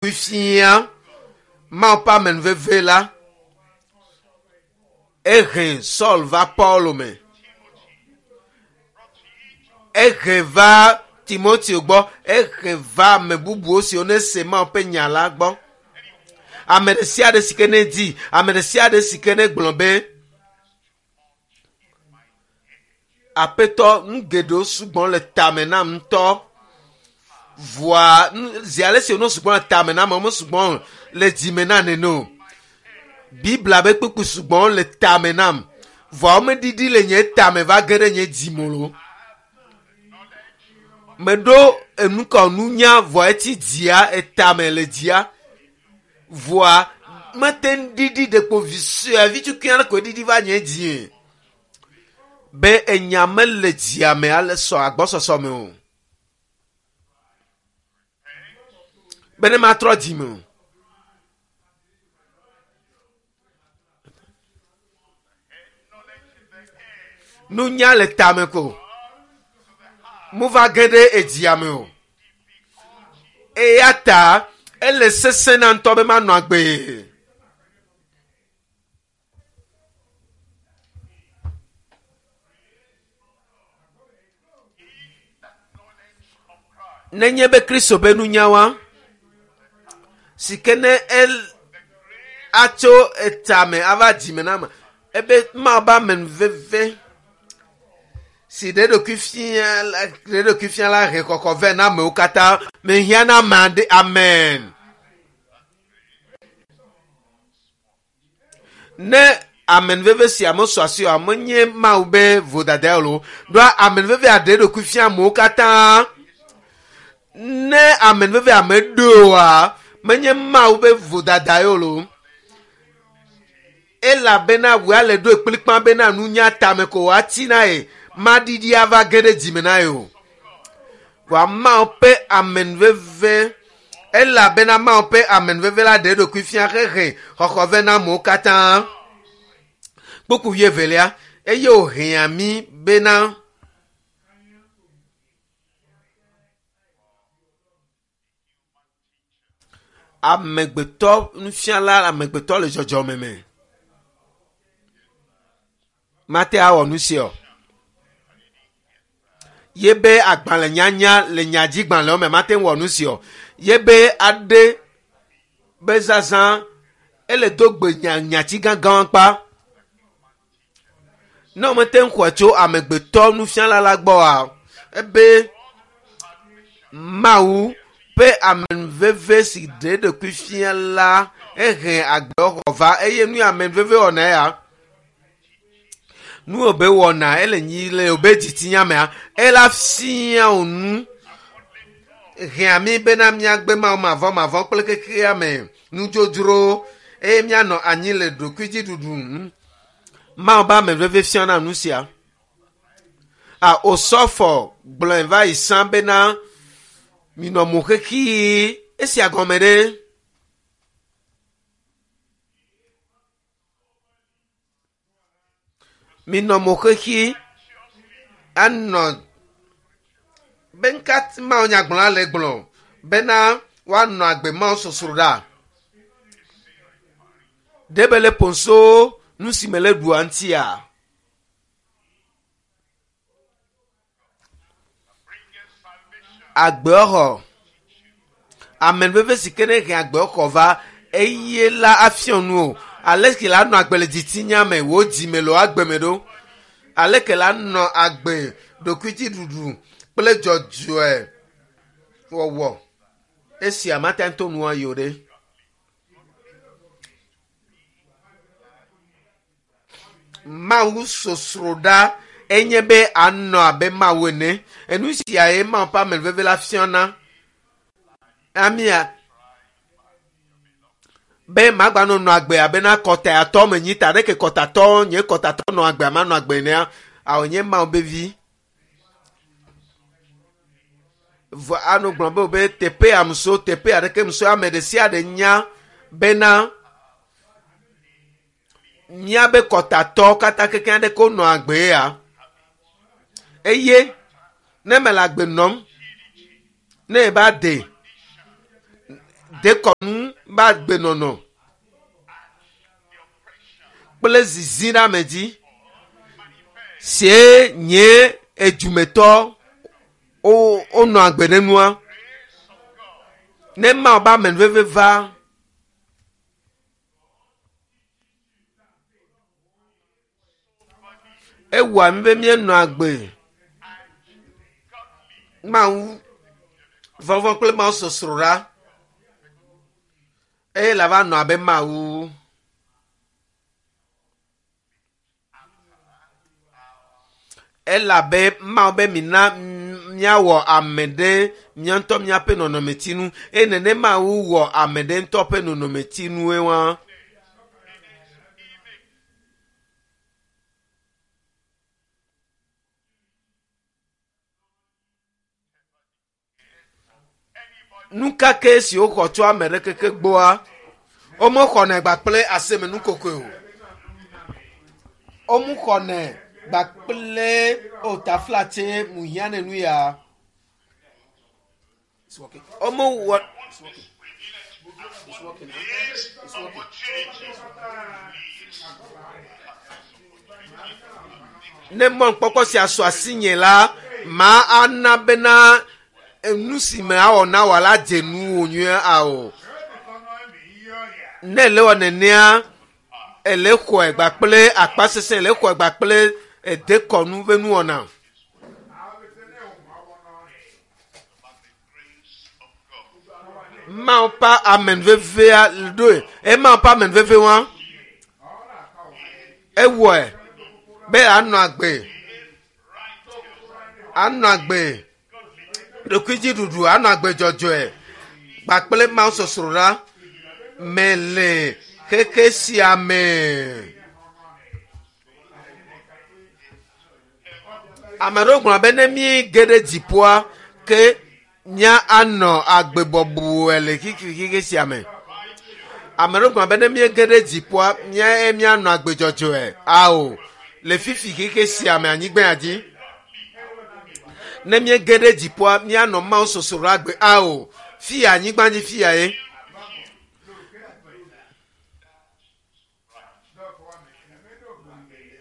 ɖokui fia Mawu ƒe amenuveve la ehe Saul va Paulo me. Ehe va Timoteo gbɔ, ehe va ame bubuwo siwo ne se Mawu ƒe nya la gbɔ. Ame ɖe sia ɖe si ke ne di, ame ɖe sia ɖe si ke ne gblɔ be Aƒetɔ, nu geɖewo sugbɔ le tame nam ŋutɔ. Vɔa zi ale si wonɔ sugbɔ le tame na ame, womesugbɔ le dzime na nene o. Biblia be kpukpui sugbɔ le tame nam. Vɔa womeɖiɖi le nye tame va ge ɖe nye dzime o. Meɖo enukɔ nunya vɔa etsi dzia etame le dzia. Vɔa mete ŋu ɖiɖi ɖekpo vi sue vi tukui aɖe koe ɖiɖi va nye dzie. Be enya mele dzia me ale sɔ agbɔsɔsɔ me o. Be ne matrɔ dzime o. Nunya le tame ko. Mova ge ɖe edzia me o. Eya ta ele sesẽ na ŋutɔ be manɔ agbee. Nenye be Kristo be nunyawa si ke ne el atso etame ava dzime na ame ebe Mawu be amenuveve si ɖe ɖokui fia la ɖe ɖokui fia la he kɔkɔ vɛ na amewo katã mehiã na ame aɖe amen. Ne amenuveve sia mesɔ asi o, menye Mawu be vodada o. Ɖoa amenuveve aɖe ɖokui fia amewo katã. Ne amenuveve ame ɖoa, menye Mawu be vodada ye o. Elabena wòa le ɖoe kplikpa bena nunya tame ko wòatsi na ye, maɖiɖi ava ge ɖe dzime na ye o. Vɔa Mawu ƒe amenuveve elabena Mawu ƒe amenuveve la ɖe eɖokui fia hehe xɔxɔ vɛ na amewo katã. Kpukpu wuievelia, eye wòhea mí bena amegbetɔ nufiala amegbetɔ le dzɔdzɔme me mate awɔ nu sia o. Yebe agbalẽnyanya le nyadzigbalẽwo me mate ŋu wɔ nu sia o. Yebe aɖe be zazã ele do gbe nya nyati gãgãwo kpa. Ne womete ŋu xɔe tso amegbetɔ nufiala la gbɔ oa, ebe Mawu ƒe amenuveve si ɖe eɖokui fia la ehe agbexɔ va eye nu ya amenuveve wɔna ya nu wòbe wɔna ele nyi le wòbe dzitsinya mea ela fia wò nu hea mí bena míagbe Mawu mavɔmavɔ kple xexea me nudzodzro eye míanɔ anyi le ɖokuidziɖuɖu nu. Mawu be amenuveve fiana nu sia. A Osɔfɔ gblɔe va yi sã bena minɔ mo xexi esia gɔme ɖe. Minɔ mo xexi anɔ be ŋka Mawu nyagblɔla le gblɔ bena woanɔ agbe Mawu sosroɖa. Ɖe be le ponso nu si me le ɖua ŋutia. Agbexɔ. Amenuveve si ke ne he agbexɔ va eye la afiɔ nu o. Ale ke la nɔ agbe le dzitsinya me, wò dzime le wò agbe me ɖo. Ale ke la nɔ agbe ɖokuidziɖuɖu kple dzɔdzɔe wɔwɔ. Esia mate ŋu to nua yi o ɖe. Mawu sosroɖa enye be anɔ abe Mawu ene. Enu sia ye Mawu ƒe amenuveve la fiana. Amia be magbanɔ nɔ agbe abe na kɔtatɔ menyi ta ɖeke kɔtatɔ nye kɔtatɔ nɔ agbe manɔ agbe enea awɔ nye Mawu be vi. Vɔ anɔ gblɔ be be teƒe ya muso teƒe aɖeke muso ame ɖe sia ɖe nya bena míabe kɔtatɔ katã kekeŋ aɖeke wonɔ agbe ya eye ne mele agbe nɔm ne eba de dekɔnu. Ba gbenɔnɔ kple zizi ɖe ame dzi sie nye edumetɔ wonɔ agbe ɖe nua ne Mawu be amenuveve va ewɔa mí be míenɔ agbe Mawu vɔvɔ kple Mawu sɔsrɔ̃ eye la va nɔ abe Mawu. Elabe Mawu be mina míawɔ ame ɖe mía ŋutɔ míaƒe nɔnɔmetinu eye nene Mawu wɔ ame ɖe ŋutɔ ƒe nɔnɔmetinue wa. Nu ka ke si woxɔ tso ame ɖe keke gbɔa, womexɔnɛ gba kple aseme nukokoe o. Womexɔnɛ gba kple o taflatse muhiã ne nu ya. It's working. Womewɔ It's working. It's working. This It's working. opportunity ne mɔnukpɔkpɔ sia su asinye la, ma ana bena nu si me awɔ na wò la dze nuwò nyuie ao. Ne ele wɔ nenea, ele xɔe gba kple akpasesẽ, ele xɔe gba kple edekɔnu ƒe nuwɔna. by the grace of God. Mawu ƒe amenuvevea ɖoe. Eye Mawu ƒe amenuveve wa, ewɔe be anɔ agbe, anɔ agbe ɖokuidziɖuɖu, anɔ agbe dzɔdzɔe kpakple Mawu sɔsrɔ̃ me le xexe sia me. Ame aɖewo gblɔ be ne míege ɖe dziƒoa, ke mía anɔ agbe bɔbɔe le xexe sia me. Ame aɖewo gblɔ be ne míege ɖe dziƒoa, mía míanɔ agbe dzɔdzɔe. Ao, le fifi xexe sia me anyigba ya dzi. Ne míege ɖe dziƒoa, míanɔ Mawu sɔsrɔ̃ agbe. Ao, fia anyigba dzi fia ye.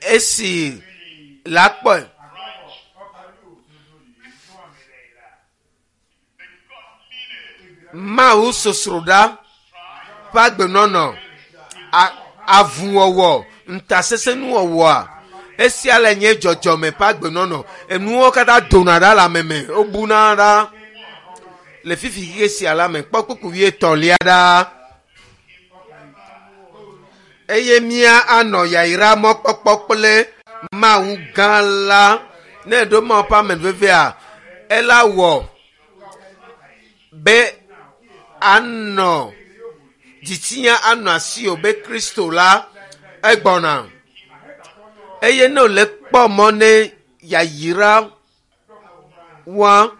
Esi la kpɔe. Mawu sosroɖa ƒe agbenɔnɔ, avuwɔwɔ, ŋutasesẽnuwɔwɔa, esia le nye dzɔdzɔme ƒe agbenɔnɔ. Enuwo katã dona ɖa le ame me, wobuna ɖa le fifi xexe sia la me. Kpɔ kpukpu wuietɔ̃lia ɖa. Eye mía anɔ yayra mɔkpɔkpɔ kple Mawu gã la. Ne eɖo Mawu ƒe amenuvevea, ela wɔ be anɔ dzitsinya anɔ asiwò be Kristo la egbɔna. Eye ne wòle kpɔ mɔ ne yayra wa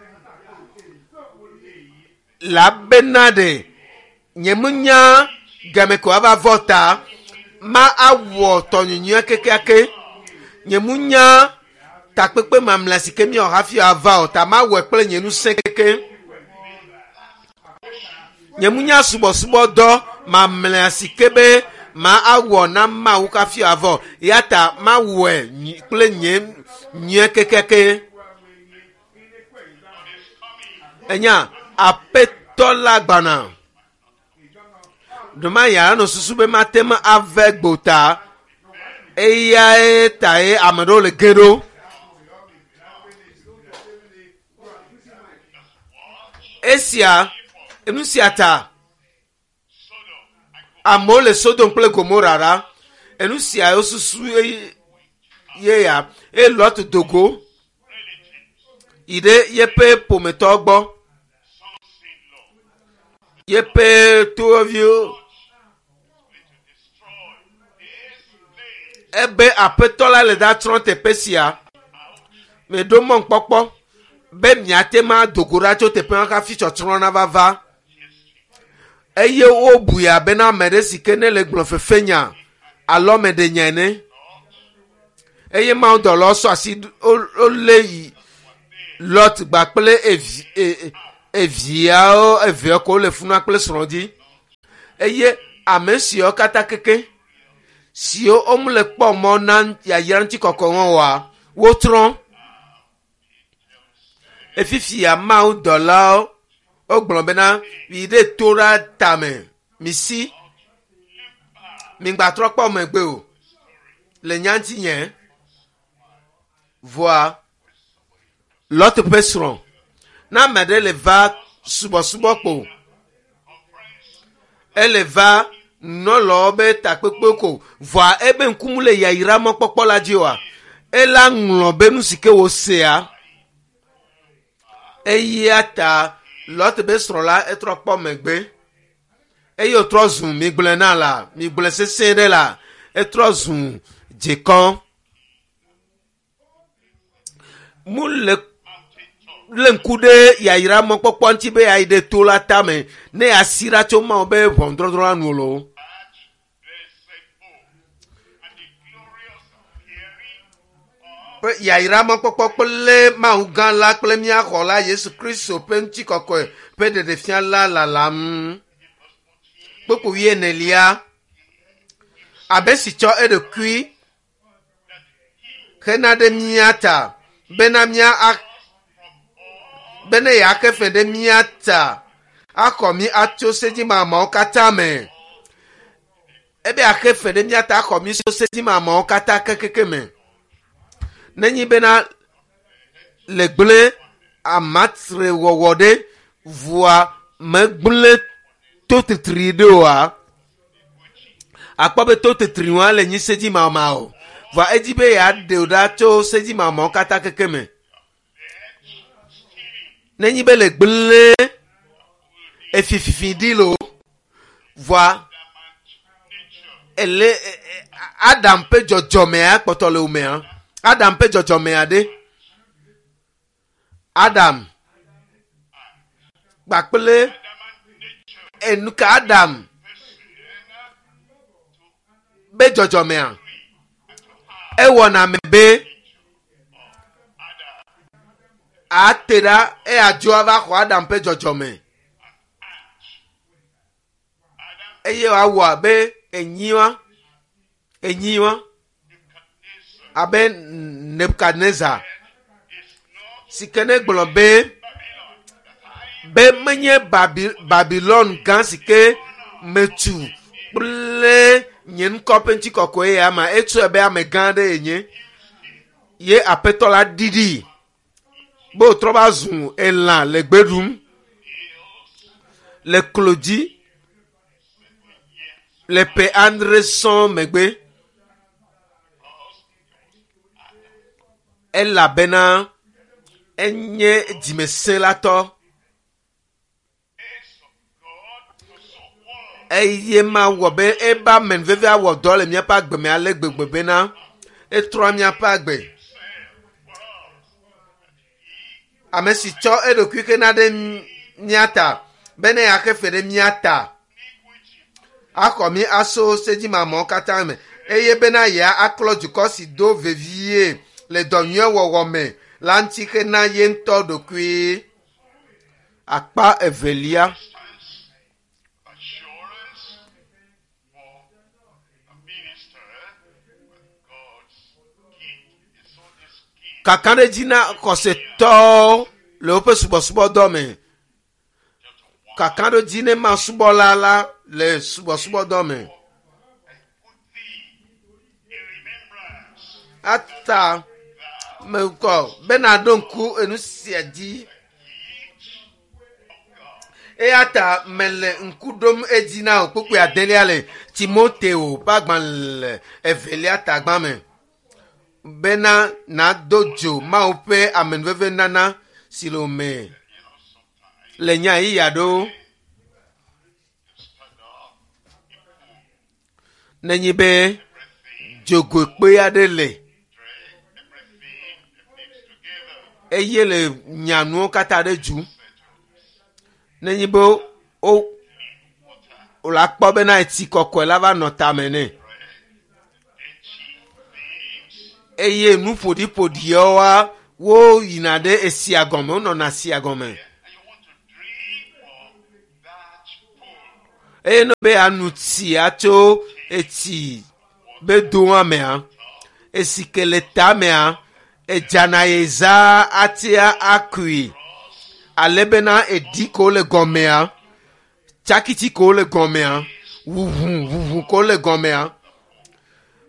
la bena ɖe nye menya game ko ava vɔ ta ma awɔ tɔnyunyuia kekeake. Nye munya takpekpe mamlea si ke míawɔ hafi ava o ta mawɔe kple nye ŋusẽ keke. Nye munya subɔsubɔdɔ mamlea si ke be ma awɔ na Mawu hafi ava o ya ta mawɔe kple nye nyuie kekeake. Enya Aƒetɔ la gbɔna. Ɖema ya nɔ susu be mate ŋu ave gbota. Eyae tae ame ɖewo le ge ɖo. Esia, nu sia ta amewo le Sodom kple Gomora ɖa. Enu sia wosusu ye ya. Eye Lot do go yi ɖe yeƒe ƒometɔ gbɔ. Yeƒe toviwo. Ebe aƒetɔ la le ɖatsrɔ̃ teƒe sia. Meɖo mɔnukpɔkpɔ be miate ŋu ado go ɖa tso teƒe ma hafi tsɔtsrɔ̃ nava va. Eye wobui abe na ame ɖe si ke ne le gblɔ fefenya alo ame ɖe nya ene. Eye mawudɔlawo sɔ asi wolé yi Lot gba kple eviawo eveawo ko wole funua kple srɔ̃ dzi. Eye ame siwo katã keke siwo womele kpɔ mɔ na yayra ŋutikɔkɔe wɔn oa, wotrɔ̃. Efifia Mawu dɔlawo wogblɔ bena yi ɖe to ɖa tame, misi, migbatrɔ kpɔ megbe o le nya ŋuti nye. Vɔa Lot ƒe srɔ̃, ne ame aɖe le va subɔsubɔ kpo, ele va nɔlɔwo be takpekpe ko, vɔa ebe ŋkumu le yayra mɔkpɔkpɔ la dzi oa, ela ŋlɔ be nu si ke wòsea. Eya ta Lot be srɔ̃ la etrɔ kpɔ megbe eye wòtrɔ zu migblɔe na la, migblɔe sesẽ ɖe la, etrɔ zu dzekɔ. Mu le lé ŋku ɖe yayra mɔkpɔkpɔ ŋuti be yeayi ɖe to la tame ne yeasi ɖa tso Mawu be ʋɔnudɔdrɔ̃ la nu o loo. Ƒe yayra mɔkpɔkpɔ kple Mawu gã la kple mía xɔla Yesu Kristo ƒe ŋutikɔkɔe ƒe ɖeɖefia la lalam. Kpukpui wuienelia. Abe si tsɔ eɖokui hena ɖe mía ta bena mía a, bene yeaxe fe ɖe mía ta axɔ mí atso sedzimamawo katã me. Ebe axe fe ɖe mía ta axɔ mí tso sedzimamawo katã kekeke me. Nenyi bena le gblẽ amatre wɔwɔ ɖe vua megblẽ to titri ɖe oa, akpɔ be to titri wa le nyi sedzimama o. Vɔa edzi be yeaɖe wò ɖa tso sedzimamawo katã keke me. Nenyi be le gblẽ efififi ɖi lo, vɔa ele Adam ƒe dzɔdzɔmea kpɔtɔ le wòmea. Adam ƒe dzɔdzɔmea ɖe. Adam kpakple enuka Adam be dzɔdzɔmea ewɔna me be ate ɖa eya dzo ava xɔ Adam ƒe dzɔdzɔme eye wòawɔ abe enyiwa enyiwa abe Nebukadnezar si ke ne gblɔ be be menye Babi, Babilon gã si ke metu kple nye ŋkɔ ƒe ŋutikɔkɔe ya ma etsɔe be ame gã aɖe yenye ye aƒetɔ la ɖiɖi be wòtrɔ va zu elã le gbe ɖum le klo dzi le ƒe adre sɔŋ megbe elabena enye dzimesẽlatɔ eye mawɔ be ebe amenuveve awɔ dɔ le míaƒe agbe me ale gbegbe bena etrɔa míaƒe agbe. Ame si tsɔ eɖokui xena ɖe mía ta bene yeaxe fe ɖe mía ta axɔ mí aso sedzimamɔwo katã me eye bena yeaklɔ dukɔ si do vevie le dɔ nyui wɔwɔ me la ŋuti xena ye ŋutɔ ɖokui. Akpa evelia. Kakaɖedzi na xɔsetɔwo le woƒe subɔsubɔdɔ me. Kakaɖedzi ne masubɔla la le subɔsubɔdɔ me. Ata mekɔ be nàɖo ŋku enu sia dzi. Eya ta mele ŋku ɖom edzi na wò kpukpui adelia le Timoteo ƒe agbalẽ evelia tagba me bena nàdo dzo Mawu ƒe amenuveve nana si le wò me le nya ɣeyiɣi aɖewo. Nenye be dzogoekpe aɖe le eye le nyanuwo katã ɖe dzu. Nenye be wo wòle akpɔ bena etsi kɔkɔe la va nɔ tame nɛ. Eye nu ƒoɖiƒoɖiawoa woyina ɖe esia gɔme, wonɔna esia gɔme. Eye ne be anu tsia tso etsi be doa mea, esi ke le tamea, edzana ye za atia akui. Ale bena eɖi ko le gɔmea, tsakitsi ko le gɔmea, ʋuʋu ʋuʋu ko le gɔmea.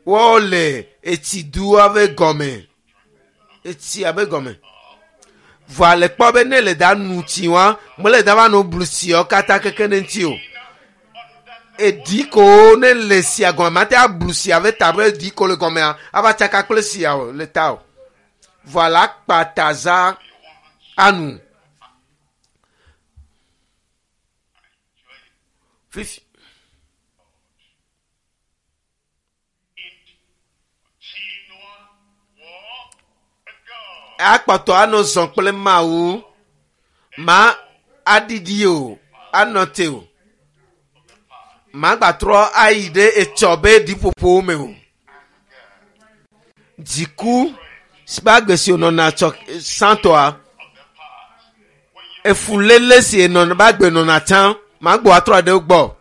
Wole etsi dua be gɔme, etsia be gɔme. Vɔa le kpɔ be ne le da nu tsi wa, mele da va no blu tsiawo katã keke ne ŋuti o. Eɖi ko ne le sia gɔme, mate ablu sia be ta be eɖi ko le gɔmea, ava tsaka kple sia o le ta o. Vɔa la kpa taza anu. Fifi. Continual walk with God. Akpɔtɔ anɔ zɔ kple Mawu. Ma aɖiɖi o, anɔ te o. Ma gbatrɔ ayi ɖe etsɔ be ɖiƒoƒowo me o. Dziku si be agbe si wònɔna tsɔ sãtɔa, efuléle si enɔna be agbe nɔna tsã, ma gbɔ atrɔ ɖe wo gbɔ.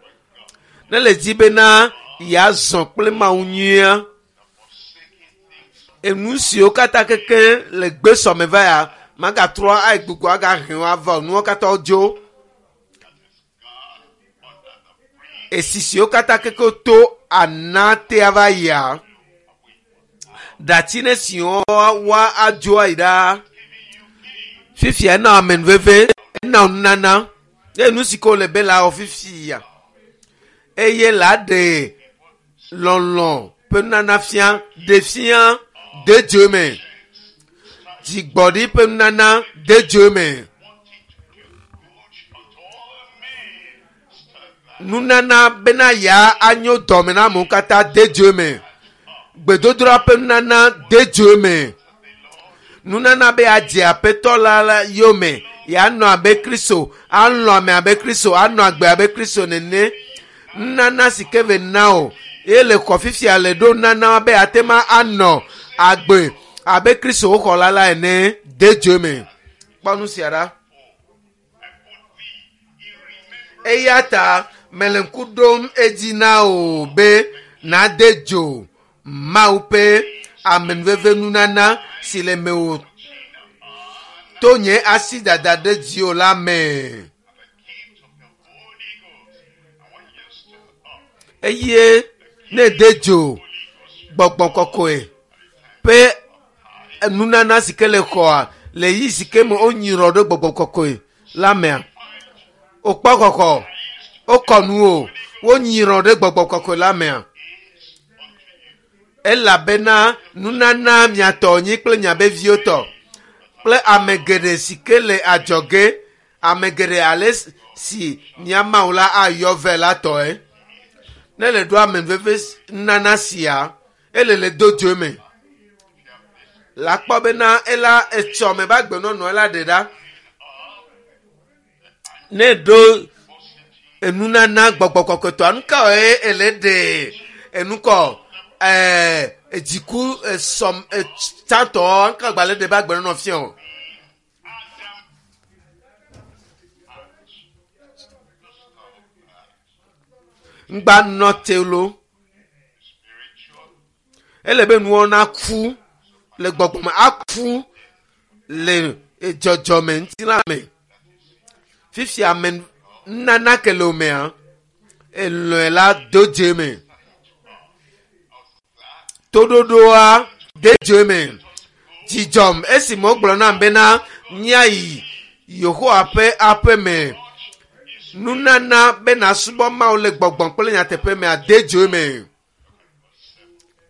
Ne le dzi bena yeazɔ kple Mawu nyuia, enu siwo katã keke le gbesɔme va ya, magatrɔ ayi gbugbɔ agahe wo ava o. Nuwo katã wodzo. Esi siwo katã keke to ana tea va yia, ɖatsi ne siwo wa adzo ayi ɖaa. Fifia ena amenuveve, ena nunana. Ye nu si ke wòle be la wɔ fifia. Eye la ɖe lɔlɔ ƒe nunana fia, ɖe fia, de dzo me. Dzigbɔɖi ƒe nunana de dzo me. Nunana bena ya anyo dɔme na amewo katã de dzo me. Gbedodoɖa ƒe nunana de dzo me. Nunana be adze aƒetɔ la la yome, yeanɔ abe Kristo, alɔ̃ ame abe Kristo, anɔ agbe abe Kristo nene. Nunana si ke ve na o, ye le xɔ fifia le ɖo nunana be ate ma anɔ agbe abe Kristo woxɔ la la ene de dzo me. Kpɔ nu sia ɖa. Eya ta mele ŋku ɖom edzi na wò be nade dzo Mawu ƒe amenuveve nunana si le mewò to nye asi dada ɖe dziwò la me. Eye ne de dzo gbɔgbɔ kɔkɔe ƒe nunana si ke le xɔa le yi si ke me wonyrɔ ɖe gbɔgbɔ kɔkɔe la mea, wokpɔ xɔxɔ, wokɔ nu o, wonyrɔ ɖe gbɔgbɔ kɔkɔe la mea. Elabena nunana miatɔ nyi kple miabe viwo tɔ kple ame geɖe si ke le adzɔge, ame geɖe ale si mia Mawu la ayɔ vɛ la tɔe. Ne le ɖo amenuveve nunana sia, ele le do dzo me. La kpɔ bena ela etsɔ me be agbenɔnɔ ela ɖe ɖa. Ne ɖo enunana gbɔgbɔ kɔkɔetɔa, nu ka ye ele ɖe enukɔ dziku esɔm tsãtɔ nu ka gbalẽ ɖe be agbenɔnɔ fia o. Ŋgba nɔ te lo. Ele be nuwo naku le gbɔgbɔ me, aku le dzɔdzɔme ŋutilã me. Fifia ame nunana ke le wo mea, elɔe la do dze me. Toɖoɖoa de dze me. Dzidzɔm esime wogblɔ nam bena míayi Yehowa ƒe aƒe me. Nunana be nasubɔ Mawu le gbɔgbɔ kple nyateƒe mea de dzo me.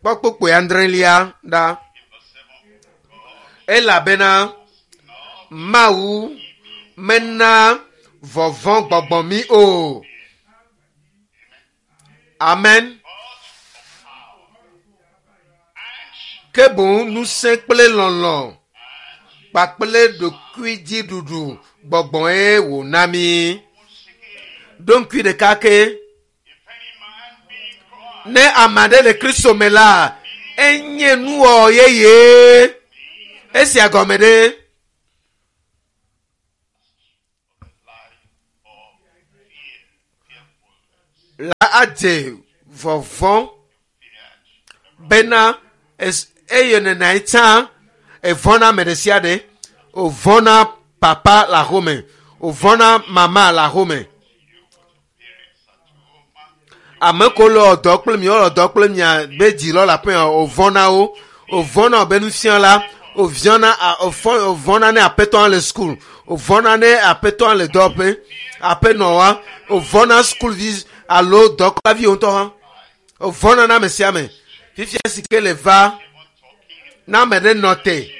Kpɔ kpukpui adrelia ɖa. Elabena Mawu mena vɔvɔ̃ gbɔgbɔ mí o. Amen. Ke boŋ ŋusẽ kple lɔlɔ̃ kpakple ɖokuidziɖuɖu gbɔgbɔe wòna mí. Ɖo ŋkui ɖeka ke. Ne ame aɖe le Kristo me la, enye nuwɔwɔ yeye. Esia gɔme ɖe. Ela dze vɔvɔ̃ bena eye nena yi tsã evɔ̃na ame ɖe sia ɖe. Wòvɔ̃na papa le axome, wòvɔ̃na mama le axome. Ame ko le dɔ kple mi, wole dɔ kple mia be dzilɔ le aƒe wòvɔ̃na wo, wòvɔ̃na wobe nufiala, wòviɔna wòvɔ̃na ne aƒetɔa le sukulu, wòvɔ̃na ne aƒetɔa le dɔwɔƒe, aƒenɔa, wòvɔ̃na sukuvi alo dɔkplaviwo ŋutɔ hã. Wòvɔ̃na na ame sia ame. Fifia si ke le va, na ame ɖe nɔ te.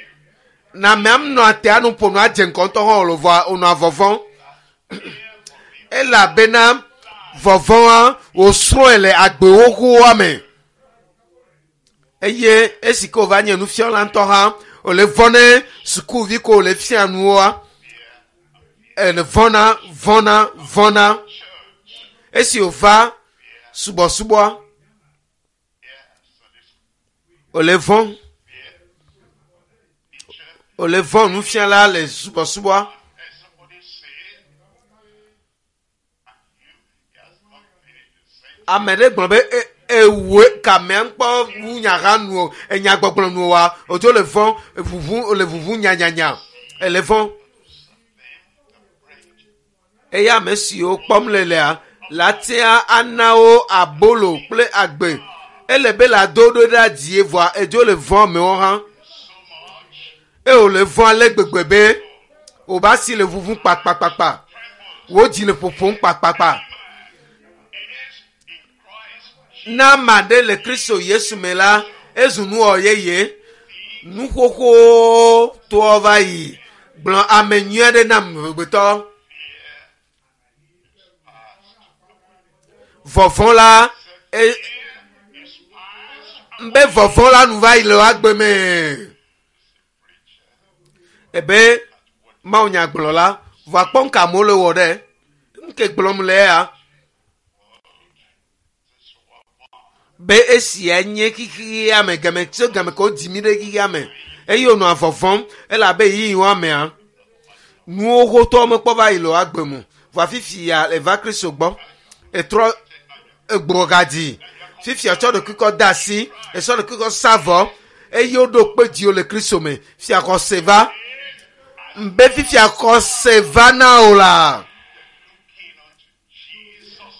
Na amea nɔa te anu ƒo nu adze ŋgɔ ŋutɔ hã wòle vɔa wònɔa vɔvɔ̃m. Elabena vɔvɔ̃a wòsrɔ̃e le agbe xoxoa me. Eye esi ke wòva nye nufiala ŋutɔ hã, wòle vɔ̃ ne sukuvi ko wòle fia nuwoa, ele vɔ̃na, vɔ̃na, vɔ̃na. Esi wòva subɔsubɔa, wòle vɔ̃. Wòle vɔ̃ nufiala le subɔsubɔa. And somebody say, and you, he has not finished the sentence. Ame ɖe gblɔ be ewoe kamea ŋkpɔ wu nya hã nu o, enyagbɔgblɔ nu oa, wòdzo le vɔ̃, ʋuʋu, le ʋuʋu nyanyanya, ele vɔ̃. Eye ame siwo kpɔm le lea, la tea ana wo abolo kple agbe. Ele be la do ɖo ɖe dzie vɔa edzo le vɔ̃ amewo hã. Eye wòle vɔ̃ ale gbegbe be wòba asi le ʋuʋum kpakpakpakpa. Wò dzi le ƒoƒom kpakpakpa. It is in Christ Na ame aɖe le Kristo Yesu me la, ezu nuwɔ yeye. Nu xoxowo toa va yi. Gblɔ ame nyui aɖe nam amegbetɔ. Vɔvɔ̃ la, is past be vɔvɔ̃ la nu va yi le wo agbe me. Ebe Mawu nya gblɔ la, vɔa kpɔ ŋka amewo le wɔ ɖe. Ŋke gblɔm le ya. Be esia nye xexea me game tso game ke wodzi mí ɖe xexea me eye wònɔa vɔvɔ̃m elabe ɣeyiɣi mea nuwo xotɔ mekpɔ va yi le wo agbe me o. Vɔa fifia eva Kristo gbɔ etrɔ egbɔ gadzi fifia tsɔ ɖokui kɔ de asi esɔ ɖokui kɔ sa vɔ eye woɖo kpe dziwò le Kristo me fia xɔse va be fifia xɔse va na o la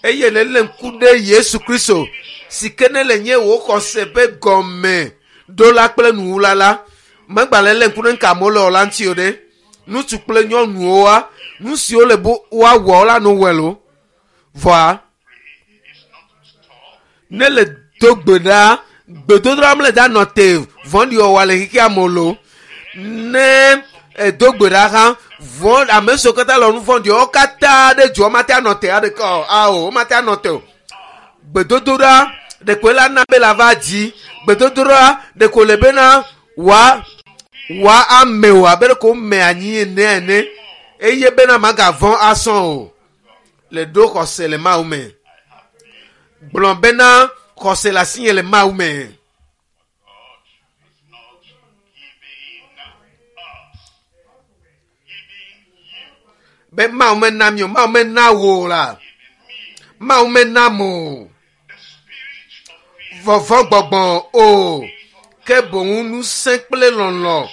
eye ne lé ŋku ɖe Yesu Kristo si ke ne le nye wò xɔse ƒe gɔme ɖola kple nuwula la megbalẽ lé ŋku ɖe ŋka amewo le wɔ la ŋuti o ɖe ŋutsu kple nyɔnuwoa nu siwo le bo woawɔ la no wɔe lo vɔa ne le do gbe ɖa gbedodoɖa mele da nɔ te vɔ̃ɖi wɔwɔ le xexea me o lo ne edo gbe ɖa hã vɔ̃ ame siwo katã le nu vɔ̃ɖi wo katã ɖe dzo womate anɔ te aɖeke o ao womate anɔ te o gbedodoɖa ɖeko la na be la va dzi gbedodoɖa ɖeko le bena wa wa ame o abe ɖeko wome anyi ene ene eye bena magavɔ̃ asɔ o le ɖo xɔse le Mawu me gblɔ bena xɔse le asinye le Mawu me. God is not giving us, giving you, Be Mawu mena mi o, Mawu mena wò o la. giving me Mawu mena mo o. the spirit of fear, Vɔvɔ̃ gbɔgbɔ o. Ke boŋ ŋusẽ kple lɔlɔ̃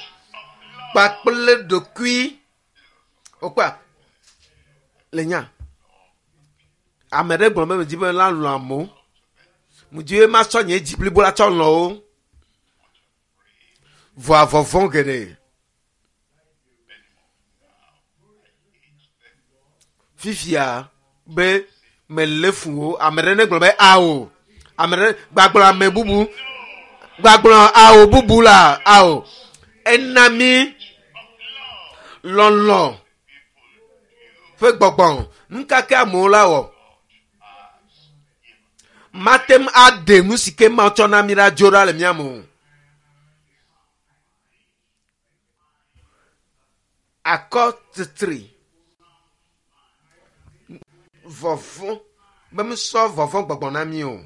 kpakple ɖokui. Wokpɔa? Le nya. Ame ɖe gblɔ be medzi be la lɔ̃ amewo. Medzi be masɔ nye dzi blibo la tsɔ lɔ̃ wo. Vɔa vɔvɔ̃ geɖe. Fifia be melé fu wo. Ame ɖe ne gblɔ be ao. Ame ɖe gbagblɔ ame bubu. Gbagblɔ ao bubu la ao. Ena mi lɔlɔ̃ ƒe gbɔgbɔ. Nu ka ke amewo la wɔ? Mate ŋu aɖe nu si ke Mawu tsɔ na mi la dzo ɖa le mía me o. Akɔ titri. Vɔvɔ̃ be mesɔ vɔvɔ̃ gbɔgbɔ na mi o.